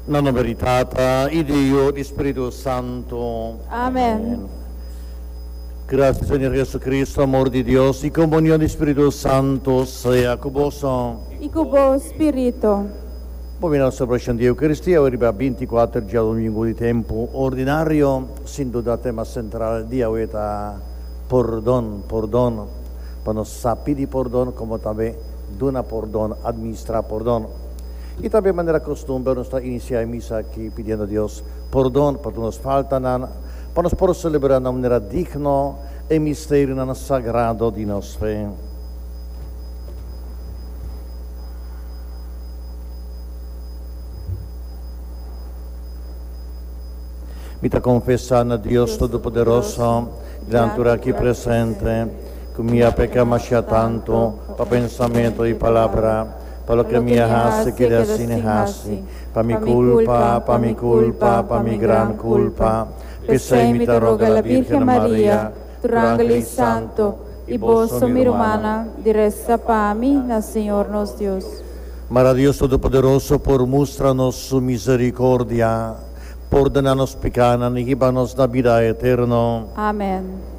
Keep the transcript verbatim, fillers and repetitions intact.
Na nomber di Tata y di Yiu y di Spirito Santo. Amen. Gracia Señor Jesucristo, amor di Dios y comunion di Spirito Santo sea cu boso. Y cu bo spirito. Bon, na celebracion di Eucaristia, riba binticuater diadomingo di tempo ordinario, sin duda tema central di awe ta pordon, pordon. Pa nos sa pidi pordon, como tambe duna pordon, administra pordon. Y tambe manera costumber nos ta inicia e misa aki pidiendo Dios pordon pa tur nos faltanan, pa nos por celebra na manera digno e misterionan sagrado di nos fe. Mi ta confesa na Dios Todopoderoso, dilanti tur aki presente, cu mi a peca masha tanto pa pensamento y palabra, pa loke mi a haci keda sin haci, pa mi culpa, pa mi culpa, pa mi gran culpa. P'esey mi ta roga la Virgen Maria, tur angel y santo, y boso, mi rumannan, di resa pa mi na Señor nos Dios. Mara Dios Todopoderoso por mustra nos su misericordia, pordona nos picanan y hiba nos na bida eterno. Amen.